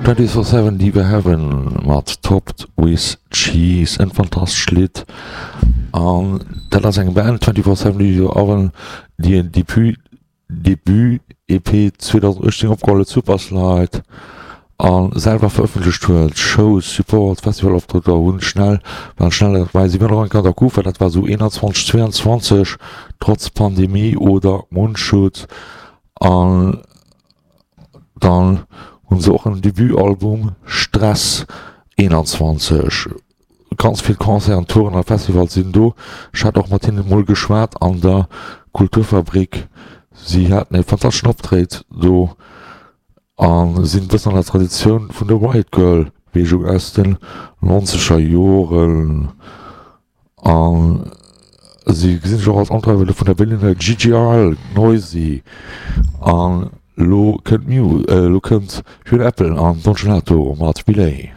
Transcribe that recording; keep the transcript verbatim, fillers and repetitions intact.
Twenty Four Seven Diva Heaven mat Topped With Cheese, en fantastescht Lidd. An dat ass eng Band, Twenty Four Seven Diva Oven, déi en Debut Debut-E P zweedausenduechtzéng opgeholl huet, Super Slide, a selwer verëffentlecht huet. Shows, Support, Festivaloptrëtter hunn schnell, waren schnell derbäi. Si waren och eng Kéier an der Kufa, dat war esou eenanzwanzeg, zweeanzwanzeg, trotz Pandemie oder Mundschutz. An dann hunn se och en Debutalbum Stress eenanzwanzeg. Ganz vill Concerten, Touren a Festivals sinn do. Ech hat och mat hinnen emol geschwat an der Kulturfabrik. Si haten e fantasteschen Optréit do a sinn e bëssen an der Traditioun vun der Riot Girl Beweegung aus den nonzeger Joren. A si gesinn sech och als Antreiwer vun der Berliner G G R L, Noisy. An elo kënnt Muse, elo kënnt Fiona Apple an Don Gelato mat Relay.